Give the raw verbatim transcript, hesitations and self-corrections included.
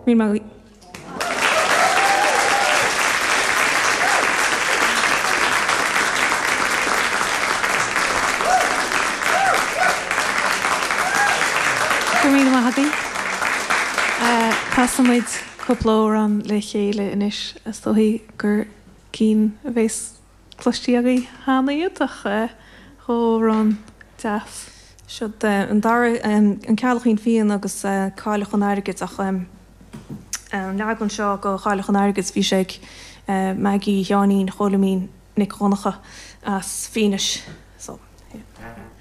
Míle maith agaibh. Go raibh míle maith agaibh. Casfaimid cúpla amhrán le chéile anois, is dóigh gur cinn a bheas cloiste agaibh cheana iad ach dhá amhrán deas. Siod an dara, An Ceallachín Fiáin agus Cailleach an Airgid ach an leagan seo de Chailleach an Airgid bhí sé ag Maggie Sheáinín Chóilimín Nic Dhonncha as Fínis.